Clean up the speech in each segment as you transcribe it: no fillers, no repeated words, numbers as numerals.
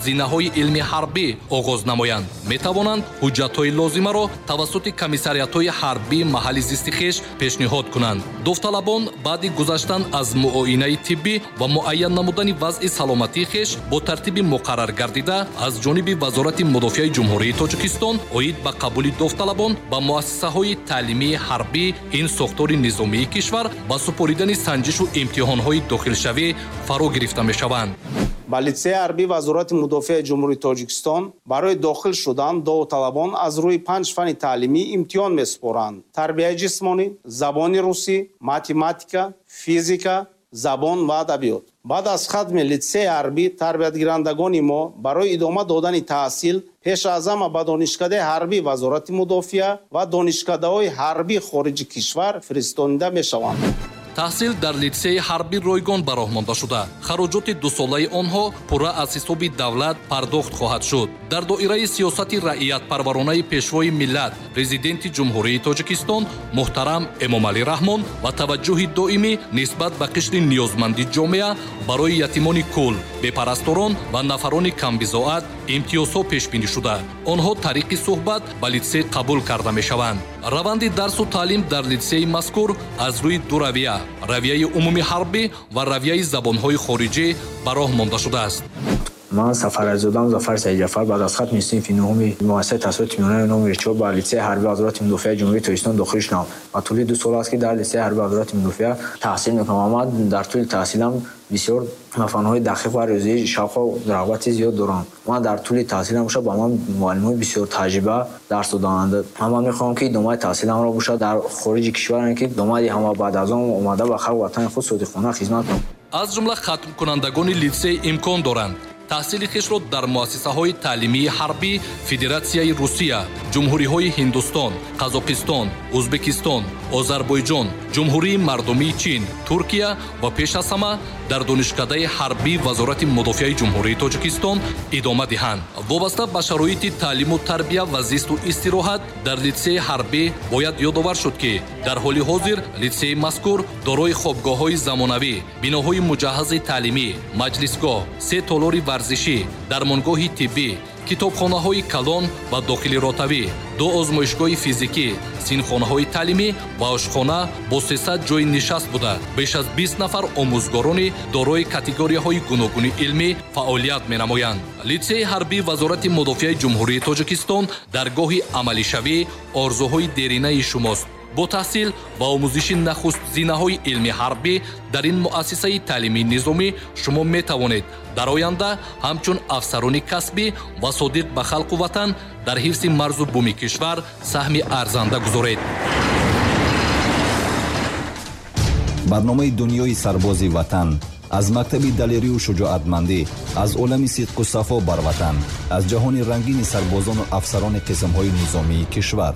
Зинаҳои илми ҳарбӣ оғоз намоянд, метавонанд ҳуҷҷатҳои лозимаро тавассути комиссариатҳои ҳарбии маҳалли зисти хеш пешниҳод кунанд. Довталабон баъди гузаштан аз муоинаи тиббӣ ва муайян намудани вазъи саломатии хеш бо тартиби муқаррар гардида аз ҷониби Вазорати мудофиаи Ҷумҳурии Тоҷикистон оид ба қабули довталабон ба муассисаҳои таълимии ҳарбӣ ин сохтори низомии кишвар ба супоридани санҷишу имтиҳонҳои дохилшавӣ фаро гирифта мешаванд. Ба литсеи ҳарбии Вазорати мудофиаи Ҷумҳурии Тоҷикистон барои дохил шудан довталабон аз рӯи 5 фанни таълимӣ имтиҳон месупоранд: тарбияи ҷисмонӣ, забони русӣ, математика, физика, забон ва адабиёт. Баъд аз хатми литсеи ҳарбӣ тарбиятгирандагони мо барои идома додани таҳсил пеш аз ҳама ба Донишкадаи ҳарбии Вазорати мудофиа ва донишкадаҳои ҳарбии хориҷи кишвар фиристонида мешаванд. Таҳсил дар литсеи ҳарбӣ ройгон ба роҳ монда шуда, хароҷоти дусолаи онҳо пурра аз ҳисоби давлат пардохт хоҳад шуд. Дар доираи сиёсати раиятпарваронаи Пешвои миллат, Президенти Ҷумҳурии Тоҷикистон муҳтарам Эмомалӣ Раҳмон ва таваҷҷӯҳи доимӣ нисбат ба қишри ниёзманди ҷомеа, барои ятимони кул, бепарасторон ва нафарони камбизоат имтиёзҳо пешбинӣ шуда, онҳо тариқи суҳбат ба литсей қабул карда мешаванд. Раванди дарсу таълим дар литсеи мазкур аз рӯи ду равия, равияи умумии ҳарбӣ ва равияи забонҳои хориҷӣ, ба роҳ монда шудааст. Ман Сафарализодам Зафар Саидҷафар баъд аз хатми синфи нуҳуми муассисаи таҳсилоти миёнаи номи 4 ба литсеи ҳарбии Вазорати мудофиаи Ҷумҳурии Тоҷикистон дохил шудам ва тӯли 2 сол аст, ки дар литсеи ҳарбии Вазорати мудофиа таҳсил мекунам ва ман дар тӯли таҳсилам бисёр ба фанҳои дақиқ ва риёзӣ шавқу рағбати зиёд дорам. Ман дар тӯли таҳсилам бошад ба ман муаллимои бисёр таҷриба дарс доданд ва ман мехоҳам, ки идомаи таҳсиламро бошад дар хориҷи кишвар, ки идома диҳам ва баъд аз он омада ба халқ ватани худ содиқона хизмат кунам. Аз ҷумла хатмкунандагони литсей имкон доранд таҳсили хешро дар муассисаҳои таълимии ҳарбӣ Федератсияи Русия, ҷумҳуриҳои Ҳиндустон, Қазоқистон, Ӯзбекистон, Озарбойҷон, Ҷумҳурии Мардумии Чин, Туркия ва пеш аз ҳама дар Донишкадаи ҳарбии Вазорати мудофиаи Ҷумҳурии Тоҷикистон идома диҳанд. Вобаста ба шароити таълиму тарбия ва зисту истироҳат дар литсеи ҳарбӣ бояд ёдовар шуд, ки дар ҳоли ҳозир литсеи мазкур дорои хобгоҳҳои замонавӣ, биноҳои муҷаҳҳази таълимӣ, маҷлисгоҳ, се толори варзишӣ, дармонгоҳи тиббӣ, китобхонаҳои калон ва дохили ротавӣ, ду озмоишгоҳи физикӣ, синфхонаҳои таълимӣ ва ошхона бо 300 ҷойи нишаст буда, беш аз 20 нафар омӯзгорони дорои категорияҳои гуногуни илмӣ фаъолият менамоянд. Литсеи ҳарбии Вазорати мудофиаи Ҷумҳурии Тоҷикистон даргоҳи амалишавӣ орзуҳои деринаи шумост. Бо таҳсил ва омӯзиши нахуст зинаҳои илми ҳарбӣ дар ин муассисаи таълимии низомӣ шумо метавонед дар оянда ҳамчун афсарони касбӣ ва содиқ ба халқу ватан дар ҳифзи марзу буми кишвар саҳми арзанда гузоред. Барномаи Дунёи сарбози ватан аз мактаби далерию шуҷоатмандӣ, аз олами сидқу сафо бар ватан, аз ҷаҳони рангини сарбозону афсарони қисмҳои низомии кишвар.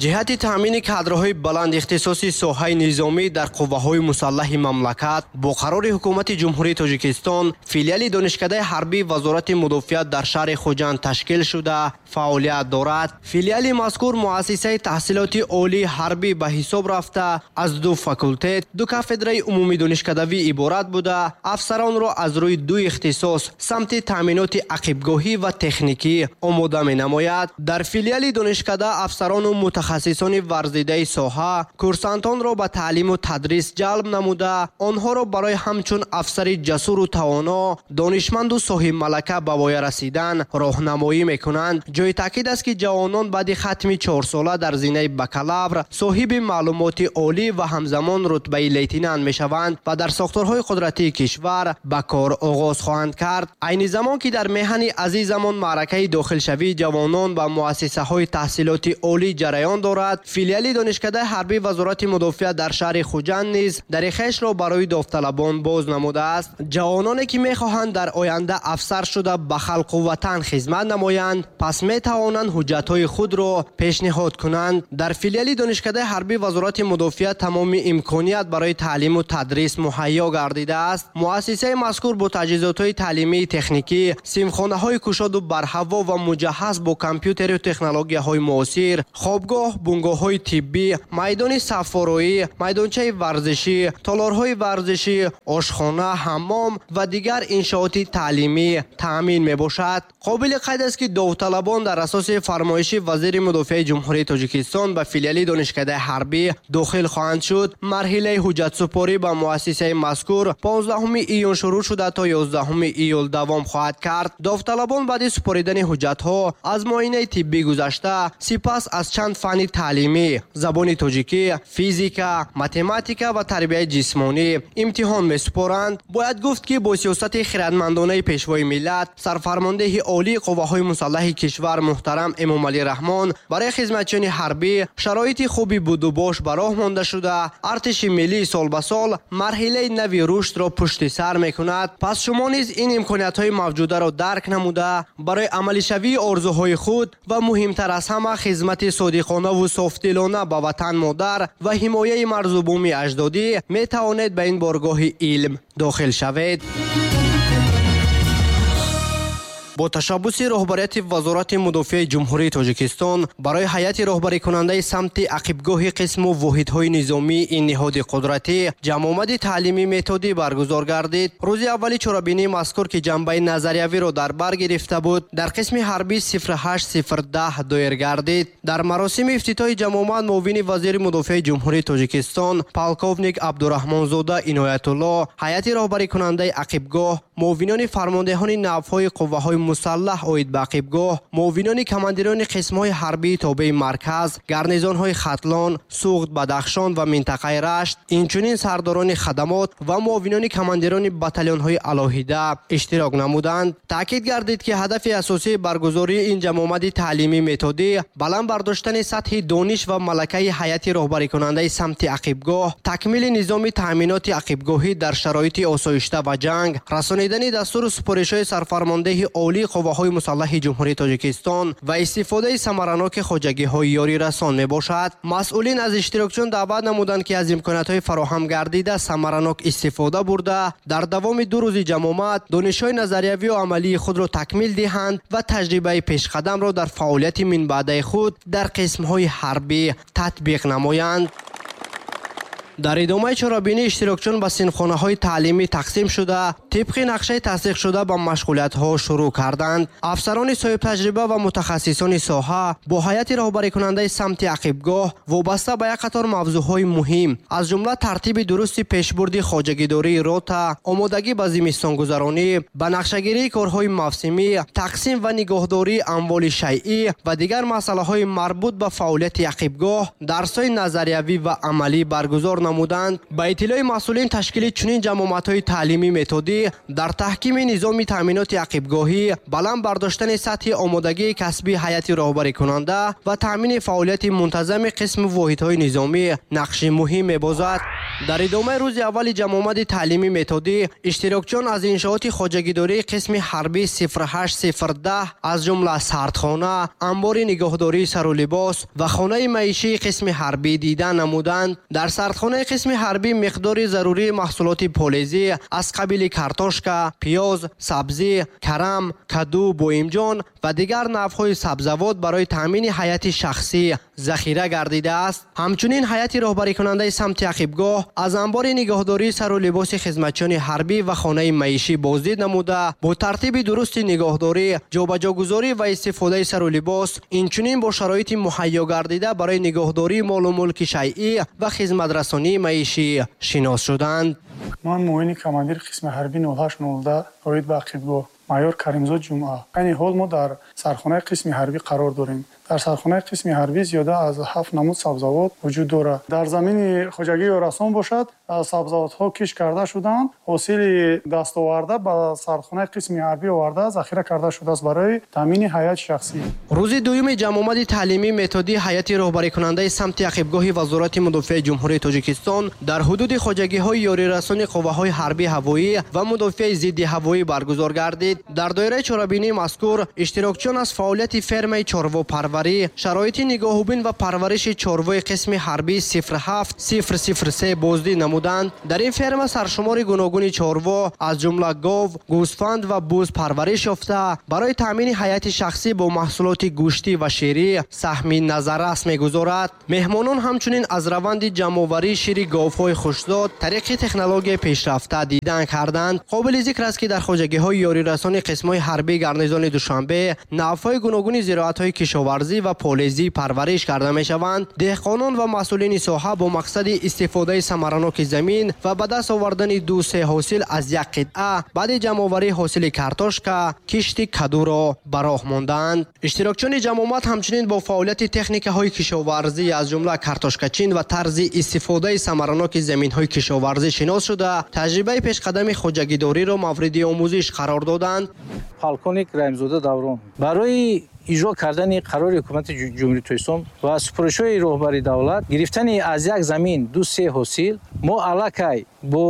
Ҷиҳати таъмини кадрҳои баланд ихтисоси соҳаи низомӣ дар қувваҳои мусаллаҳи мамлакат бо қарори Ҳукумати Ҷумҳурии Тоҷикистон филиали Донишкадаи ҳарбии Вазорати мудофиа дар шаҳри Хуҷанд ташкил шуда фаъолият дорад. Филиали мазкур муассисаи таҳсилоти олии ҳарбӣ ба ҳисоб рафта, аз ду факултет, ду кафедраи умумидонишкадавӣ иборат буда, афсаронро аз рӯи ду ихтисос самти таъминоти ақибгоҳӣ ва техникӣ омода менамояд. Дар филиали донишкада афсарону мутахассисони варзидаи соҳа курсантонро ба таълиму тадрис ҷалб намуда, онҳоро барои ҳамчун афсари ҷасуру тавоно, донишманду соҳибмалака ба воя расидан роҳнамоӣ мекунанд. Ҷои таъкид аст, ки ҷавонон баъди хатми 4сола дар зинаи бакалавр соҳиби маълумоти олӣ ва ҳамзамон рутбаи лейтенант мешаванд ва дар сохторҳои қудратии кишвар ба кор оғоз хоҳанд кард. Айни замон, ки дар меҳани азизамон маъракаи дохилшавии ҷавонон ба муассисаҳои таҳсилоти олӣ ҷараён дорад, филиали Донишкадаи ҳарбии Вазорати мудофиа дар шаҳри Хуҷанд низ дари хешро барои довталабон боз намудааст. Ҷавононе, ки мехоҳанд дар оянда афсар шуда ба халқу ватан хизмат намоянд, пас метавонанд ҳуҷҷатҳои худро пешниҳод кунанд. Дар филиали Донишкадаи ҳарбии Вазорати мудофиа тамоми имконият барои таълиму тадрис муҳайё гардидааст. Муассисаи мазкур бо таҷҳизотҳои таълимии техникӣ, синфхонаҳои кушоду барҳаво ва муҷаҳҳаз бо компютеру технологияҳои муосир, хобгоҳ Ақибгоҳ бунгоҳҳои тиббӣ, майдони саффороӣ, майдончаи варзишӣ, толорҳои варзишӣ, ошхона, ҳаммом ва дигар иншооти таълимӣ таъмин мебошад. Қобили қайд аст, ки довталабон дар асоси фармоиши вазири мудофиаи Ҷумҳурии Тоҷикистон ба филиали донишкадаи ҳарбӣ дохил хоҳанд шуд. Марҳилаи ҳуҷҷатсупорӣ ба муассисаи мазкур 15 июн шурӯъ шуда то 11 июл давом хоҳад кард. Довталабон баъди супоридани ҳуҷҷатҳо аз муоинаи тиббӣ гузашта, сипас аз чанд фанни таълимӣ забони тоҷикӣ, физика, математика ва тарбияи ҷисмонӣ имтиҳон месупоранд. Бояд гуфт, ки бо сиёсати хирадмандонаи пешвои миллат, сарфармондеҳи олии қувваҳои мусаллаҳи кишвар муҳтарам Эмомалӣ Раҳмон барои хизматчиёни ҳарбӣ шароити хуби будубош ба роҳ монда шуда, артиши миллӣ сол ба сол марҳилаи нави рушдро пушти сар мекунад. Пас шумо низ ин имкониятҳои мавҷударо дарк намуда, барои амалишавии орзуҳои худ ва муҳимтар аз ҳама хизмати содиқонаву софдилона ба ватан модар ва ҳимояи марзу буми аҷдодӣ метавонед ба ин боргоҳи илм дохил шавед. Бо ташаббуси роҳбарияти Вазорати мудофиаи Ҷумҳурии Тоҷикистон барои ҳайати роҳбарикунандаи самти ақибгоҳи қисму воҳидҳои низомии ин ниҳоди қудратӣ ҷамъомади таълимӣ методӣ баргузор гардид. Рӯзи аввали чорабинии мазкур, ки ҷанбаи назариявиро дар бар гирифта буд, дар қисми ҳарбӣ 08010 доир гардид. Дар маросими ифтитоҳи ҷамъомад муовини вазири мудофиаи Ҷумҳурии Тоҷикистон полковник Абдураҳмонзода Иноятулло, ҳайати роҳбарикунандаи ақибгоҳ, муовинони фармондеҳони навъҳои қувваҳои мусаллаҳ оид ба ақибгоҳ, муовинони командирони қисмҳои ҳарбии тобеи марказ, гарнизонҳои Хатлон, Суғд, Бадахшон ва минтақаи Рашт, инчунин сардорони хадамот ва муовинони командирони батальонҳои алоҳида иштирок намуданд. Таъкид гардид, ки ҳадафи асосии баргузории ин ҷамъомади таълимӣ методӣ баланд бардоштани сатҳи дониш ва малакаи ҳайати роҳбарикунандаи самти ақибгоҳ, такмили низоми таъминоти ақибгоҳӣ дар шароити осоишта ва ҷанг, расонидани дастуру супоришҳои сарфармондеҳи олии қувваҳои мусаллаҳи Ҷумҳурии Тоҷикистон ва истифодаи самараноки хоҷагиҳои ёрирасон мебошад. Масъулин аз иштирокчиён даъват намуданд, ки аз имкониятҳои фароҳам гардида самаранок истифода бурда, дар давоми 2 рӯзи ҷамъомад донишҳои назариявию амалии худро такмил диҳанд ва таҷрибаи пешқадамро дар фаъолияти минбаъдаи худ дар қисмҳои ҳарбӣ татбиқ намоянд. Дар идомаи чорабинӣ иштирокчиён ба синфхонаҳои таълимӣ тақсим шуда, тибқи нақшаи тасдиқшуда ба машғулиятҳо шурӯъ карданд. Афсарони соҳибтаҷриба ва мутахассисони соҳа бо ҳайати роҳбарикунандаи самти ақибгоҳ вобаста ба як қатор мавзӯъҳои муҳим, аз ҷумла тартиби дурусти пешбурди хоҷагидории рота, омодагӣ ба зимистонгузаронӣ, ба нақшагирии корҳои мавсимӣ, тақсим ва нигоҳдории амволи шайъӣ ва дигар масъалаҳои марбут ба фаъолияти ақибгоҳ дарсҳои назариявӣ ва амалӣ баргузор намуданд. Ба иттилои масъулин, ташкили чунин ҷамъомадҳои таълимӣ методӣ дар таҳкими низоми таъминоти ақибгоҳӣ, баланд бардоштани сатҳи омодагии касбии ҳайати роҳбарикунанда ва таъмини фаъолияти мунтазами қисму воҳидҳои низомӣ нақши муҳим мебозад. Дар идомаи рӯзи аввали ҷамъомади таълимӣ методӣ иштирокчиён аз иншооти хоҷагидории қисми ҳарбӣ 08010 аз ҷумла сардхона, анбори нигоҳдории сару либос ва хонаи маишии қисми ҳарбӣ дида намуданд. Дар сардхонаи қисми ҳарбӣ миқдори зарурии маҳсулоти полезӣ аз қабили картошка, пиёз, сабзӣ, карам, каду, боимҷон ва дигар навъҳои сабзавот барои таъмини ҳайати шахсӣ захира гардидааст. Ҳамчунин ҳайати роҳбарикунандаи самти ақибгоҳ аз анбори нигоҳдории сару либоси хизматчиёни ҳарбӣ ва хонаи маишӣ боздид намуда, бо тартиби дурусти нигоҳдорӣ, ҷобаҷогузорӣ ва истифодаи сару либос, инчунин бо шароити муҳайё гардида барои нигоҳдории молу мулки шайъӣ ва хизматрасонии маишӣ шинос шуданд. Ман муовини командири қисми ҳарбӣ 0809 оид ба ақибгоҳ майор Каримзод Ҷумъа. Айни ҳол мо дар сархонаи қисми ҳарбӣ қарор дорем. Дар сархонаи қисми ҳарбӣ зиёда аз 7 намуд сабзавот вуҷуд дорад. Дар замини хоҷагии ёрасон бошад, сабзавотҳо кишт карда шуданд. Ҳосили дастоварда ба сархонаи қисми ҳарбӣ оварда захира карда шудааст барои таъмини ҳайати шахсӣ. Рӯзи дуюми ҷамъомади таълимӣ методии ҳайати роҳбарикунандаи самти ақибгоҳи Вазорати мудофиаи Ҷумҳурии Тоҷикистон дар ҳудуди хоҷагиҳои ёрирасони қувваҳои ҳарбӣ ҳавоӣ ва мудофиаи зидди ҳавоӣ баргузор гардид. Дар доираи чорабинии мазкур иштирокчиён аз фаъолияти фермаи чорвопарварӣ, шароити нигоҳубин ва парвариши чорвои қисми ҳарбии 07003 боздид намуданд. Дар ин ферма саршумори гуногуни чорво аз ҷумла гов, гӯсфанд ва буз парвариш ёфта, барои таъмини ҳайати шахсӣ бо маҳсулоти гӯштӣ ва ширӣ саҳми назаррас мегузорад. Меҳмонон ҳамчунин аз раванди ҷамъоварии шири говҳои хушзод тариқи технологияи пешрафта дидан карданд. Қобили зикр аст, ки дар хоҷагиҳои ёрирасони қисмҳои ҳарбии гарнизони Душанбе навъҳои гуногуни зироатҳои кишоварзӣ ва полезӣ парвариш карда мешаванд. Деҳқонон ва масъулини соҳа бо мақсади истифодаи самараноки замин ва ба даст овардани 2-3 ҳосил аз як қитъа баъди ҷамъоварии ҳосили картошка кишти кадуро ба роҳ монданд. Иштирокчиёни ҷамъомад ҳамчунин бо фаъолияти техникаҳои кишоварзӣ аз ҷумла картошкачин ва тарзи истифодаи самараноки заминҳои кишоварзӣ шинос шуда, таҷрибаи пешқадами хоҷагидориро мавриди омӯзиш қарор доданд. Полковник Раҳимзода Даврон барои иҷро кардани қарори ҳукумати Ҷумҳурии Тоҷикистон ва супоришҳои роҳбари давлат гирифтани аз як замин 2-3 ҳосил мо аллакай бо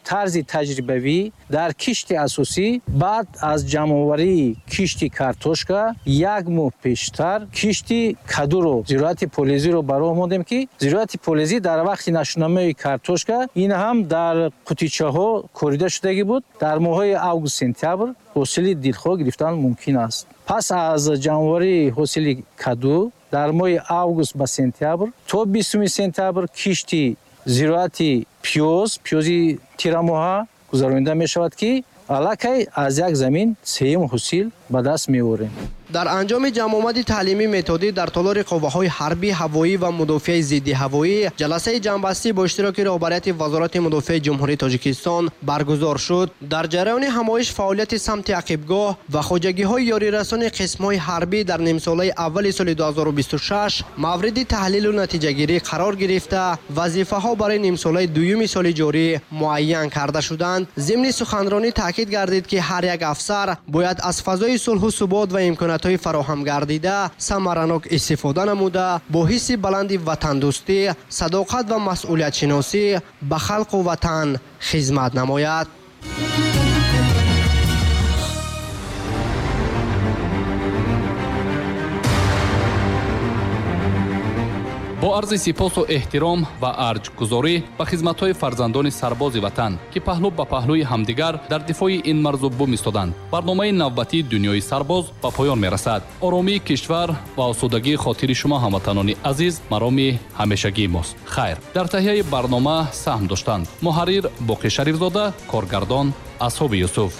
тарзи таҷрибавӣ дар кишти асосӣ баъд аз ҷамъоварии кишти картошка як моҳ пештар кишти кадуро, зироати полезиро ба роҳ мондем, ки зироати полезӣ дар вақти нашунамои картошка ин ҳам дар қутичаҳо корида шудагӣ буд. Дар моҳҳои август сентябр ҳосили дилхоҳ гирифтан мумкин аст. Пас аз ҷамъоварии ҳосили каду дар моҳи август ба сентябр то 20 сентябр кишти зироати пиёз, пиёзи тирамоҳа гузаронида мешавад, ки аллакай аз як замин сеюм ҳосил ба даст меорем. Дар анҷоми ҷамъомади таълимӣ методӣ дар толори қувваҳои ҳарбӣ, ҳавоӣ ва мудофиаи зиддиҳавоӣ ҷаласаи ҷамъбастӣ бо иштироки роҳбарияти Вазорати мудофиаи Ҷумҳурии Тоҷикистон баргузор шуд. Дар ҷараёни ҳамоиш фаъолияти самти ақибгоҳ ва хоҷагиҳои ёрирасони қисмҳои ҳарбӣ дар нимсолаи аввали соли 2026 мавриди таҳлилу натиҷагирӣ қарор гирифта, вазифаҳо барои нимсолаи дуюми соли ҷорӣ муайян карда шуданд. Зимни суханронӣ таъкид гардид, ки ҳар як афсар бояд аз фазои сулҳу субот ва имкониятҳои фароҳам гардида самаранок истифода намуда, бо ҳисси баланди ватандӯстӣ, садоқат ва масъулиятшиносӣ ба халқу ватан хизмат намояд. Бо арзи сипосу эҳтиром ва арҷгузорӣ ба хизматҳои фарзандони сарбози ватан, ки паҳлӯ ба паҳлӯи ҳамдигар дар дифои ин марзу бум истоданд, барномаи навбатии дунёи сарбоз ба поён мерасад. Оромии кишвар ва осудагии хотири шумо, ҳамватанони азиз, мароми ҳамешагии мост. Хайр, дар таҳияи барнома саҳм доштанд муҳаррир Боқӣ Шарифзода, коргардон Асҳоби Юсуф.